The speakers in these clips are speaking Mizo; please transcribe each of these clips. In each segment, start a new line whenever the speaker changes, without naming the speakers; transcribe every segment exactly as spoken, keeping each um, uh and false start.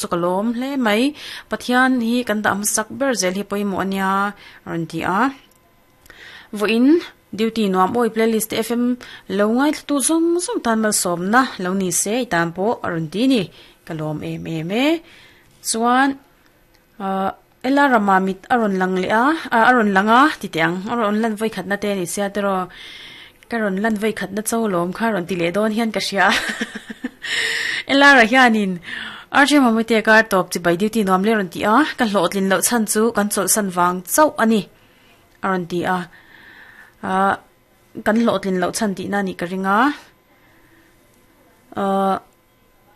chu ka lawm hle mai Pathian hi kan dah hmasak ber zel hi pawimawh ania rawn ti a vawiin duty nuam awi playlist F M lo ngai thla tu zawng zawng tan malsawmna lo ni se i tan pawh a rawn ti ni ka lawm em em e chuan ah ela rama mit a rawn lang leh a a rawn lang a ti teh ang a rawn lan vawi khatna te ni sia tiraw ka rawn lan vawi khatna cho lawm kha rawn ti leh dawn hian ka hria ela ra hianin R J Mamute kar tawp chi bai duty nuam le rawn ti a ka hlawh tlin loh chhan chu kan chawlh san vang chauh ani a rawn ti a ah kan hlawh tlin loh chhan tihna ni ka ringa ah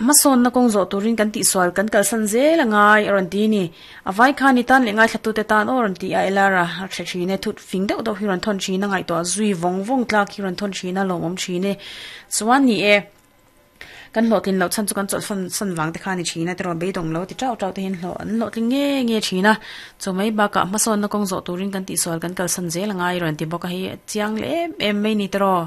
masawn na kawng zawh turin kan tihsual kan kalsan zel angai a rawn ti ni a vai khan i tan leh ngai thla tu te tan aw rawn ti a elara a hre thin e thut fing deuh deuh hi rawn thawn thin a ngaihtuah zui vawng vawng tlak hi rawn thawn thin a lawmawm thin e chuan ni e kan hlawh tlin loh chhan chu kan chawlh fan san wang te khan ni thin a tiraw beidawng lo ti tau tau te hian hlawh an hlawh tling nge nge thin a chu mai bakah hmasawn na kawng zawh turin kan tihsual kan kalsan zel angai rawn ti bawk a hei chiang leh em em mai ni tiraw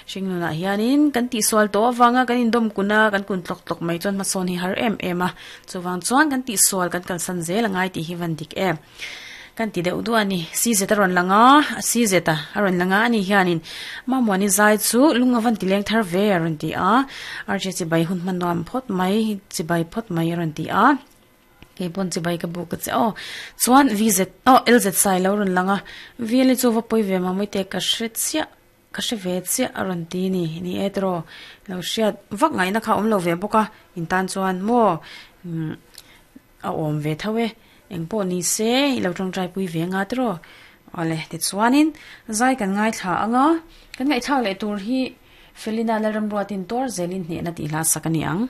hring nunah hianin kan tihsual tawh awanga kan indawm kun a kan kun tlawk tlawk mai chuan hmasawn hi har em em a chuwang chuan kan tihsual kan kalsan zel angai tih hi van dik em kan ti deuh duh ani C Z a rawn langa C Z a a rawn langa ani hianin mamawani zai chu lung avan ti leng thar ve a rawn ti a R J chi bai hun hman nuam phawt mai chi bai phawt mai a rawn ti a ke pawn chi bai ka bu ka che aw chuan V Z aw L Z sai lo rawn langa V L chu va pawi ve mamawii te ka hre chiah ka hre ve chiah a rawn ti ni ni e tiraw lo hriat vak ngaihna kha awm lo ve bawk a in tan chuan maw umm a awm ve tho e eng pawh ni se i lo tawngtai pui ve nga tiraw awle tichuanin zai kan ngai thla anga kan ngaihthlak leh tur hi Felina Lalramruatin tuar zelin hnehna tih hla sak ani ang.